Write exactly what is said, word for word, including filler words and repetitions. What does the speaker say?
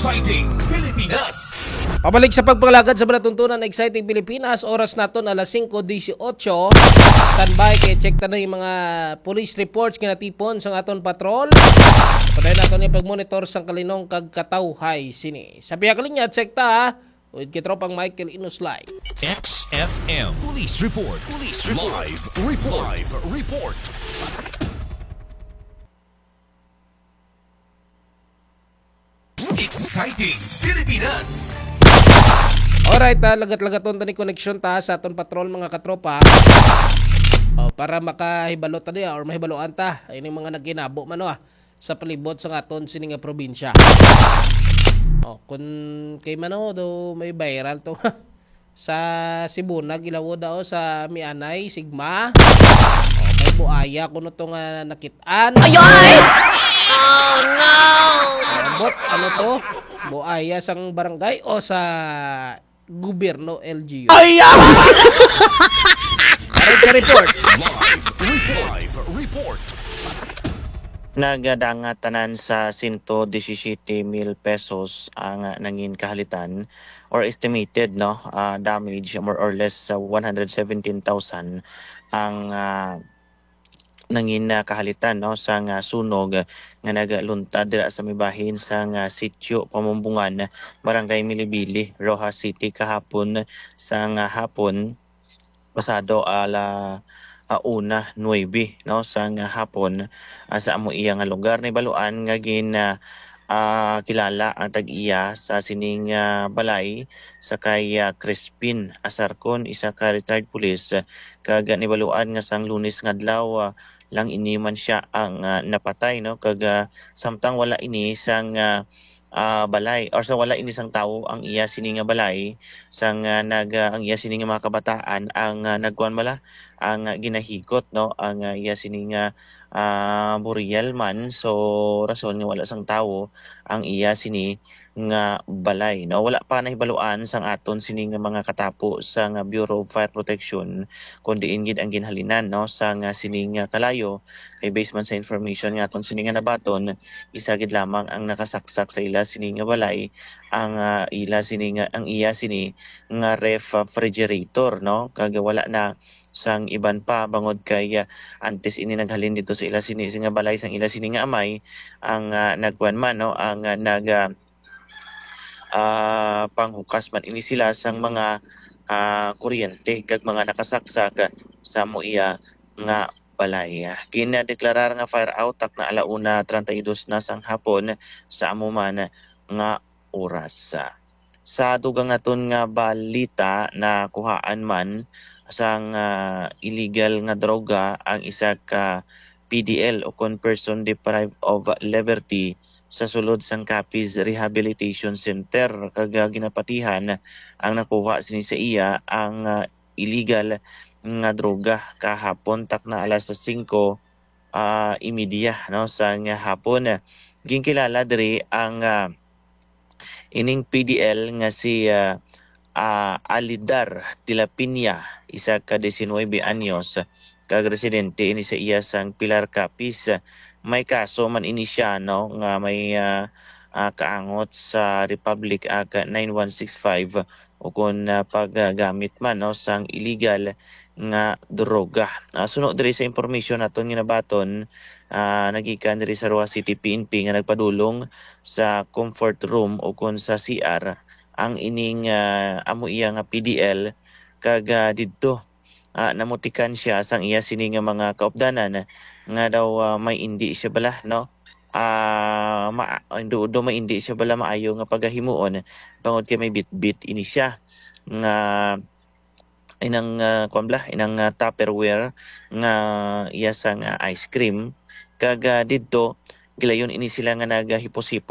Exciting Pilipinas. Pabalik sa pagpangalagad sa palatuntunan, Exciting Pilipinas, oras naton alas singko dieciocho. Standby kay check ta na yung mga police reports nga natipon sa aton patrol. Padayon naton yung pag-monitor sang kalinong kag katawhay sini. Sa pihak linya, check ta, ha? With Kitropang Michael Inuslay. X F M Police Report. Police Report. Live Report. Live Report. Exciting Pilipinas. Alright, ah, lagat-lagaton ta ni connection ta sa aton patrol, mga katropa. Oh, para makahibalo ta niya or mahibaluan ta ining mga nagkinabo man, oh, ah, sa palibot sa aton sini nga probinsya. Oh, kun kay mano do may viral to. Sa Sibunag, ilawo daw sa Mianay, Sigma. Oh, may buaya kuno to nga nakit-an. Ay, ay! Oh, no! Ambot, ano to? Buaya sang barangay o sa gobyerno, L G U? Ay, ah! Para sa report. Live report. Live report. Nagdanga tanan sa sento disisiyete mil pesos ang nangin kahalitan or estimated, no, ah, damage, more or less, sa one hundred seventeen thousand ang, ah, nangin, ah, kahalitan, no, sang, ah, sunog nga nagluntad dira sa may bahin sang, ah, Sitio Pamumbungan, Barangay Milibili, Roxas City, kahapon sang, ah, hapon, pasado ala, ah, una nuebe, no, sang, ah, hapon, ah, sa amo iya nga lugar. Nahibaluan nga gin, ah, ah, kilala ang tag-iya sa sining, ah, balay sa kay, ah, Crispin Asarcon, isa ka retired police, kag nahibaluan nga sang Lunes nga adlaw, ah, lang ini man sia ang, ah, napatay, no? Kag, ah, samtang wala ini sang, ah, ah, balay, or sa wala ini sang tawo ang iya sini nga balay, sang, ah, nag, ah, ang iya sini nga mga kabataan ang, ah, nagkuan bala, ang, ah, ginahigot, no? Ang, ah, iya sini nga, ah, burial man. So, rason nga wala sang tawo ang iya sini nga balay, no? Wala pa nahibaluan sang aton sini nga mga katapo sang Bureau of Fire Protection kung diin gid ang ginhalinan, no, sang, ah, sini nga kalayo. Kay based man sa information nga aton sini nga nabaton, isa gid lamang ang nakasaksak sa ila sini nga balay, ang, ah, ila sini nga, ang iya sini nga refrigerator, no? Kag wala na sang iban pa bangod kay, ah, antes ini naghalin dito sa ila sini, sa nga balay sang ila sini nga amay, ang, ah, nagkuan man, no, ang, ah, nag, ah, ah, panghukas man ini sila sang mga, ah, kuryente kag mga nakasaksak sa amo iya nga balay. Gindeklarar nga fire out takna ala una treinta y dos na sang hapon sa amo man nga oras. Sa dugang naton nga balita, nakuhaan man sang, ah, illegal nga droga ang isa ka P D L o kon person deprived of liberty sa sulod sang Capiz Rehabilitation Center, kag, ah, ginapatihan ang nakuha sini sa iya ang, ah, illegal nga droga kahapon takna alas singko, ah, y media, no, sang hapon. Ginkilala diri ang, ah, ining P D L nga si, ah, ah, Alidar de la Piña, isa ka diecinuebe anyos, kag residente ini sa iya sang Pilar Capiz. May kaso man ini siya, no, nga may, ah, ah, kaangot sa Republic Act nine one six five, o kon, ah, paggamit man, no, sang illegal nga droga. Ah, suno diri sa impormasyon naton nga nabaton, ah, nagikan diri sa Roxas City P N P nga nagpadulong sa comfort room o kon sa C R ang ining, ah, amo iya nga P D L, kag, ah, didto, ah, namutikan siya sang iya sini nga mga kaupdanan nga daw, ah, may indi siya bala, no? Ah, ma-, do, do may indi siya bala maayo nga pagahimuon, bangod kay may bitbit ini siya nga inang, ah, kuwan bala, inang, ah, Tupperware nga iya sang, ah, ice cream. Kag, ah, didto, gilayon ini sila nga nagahipos-hipos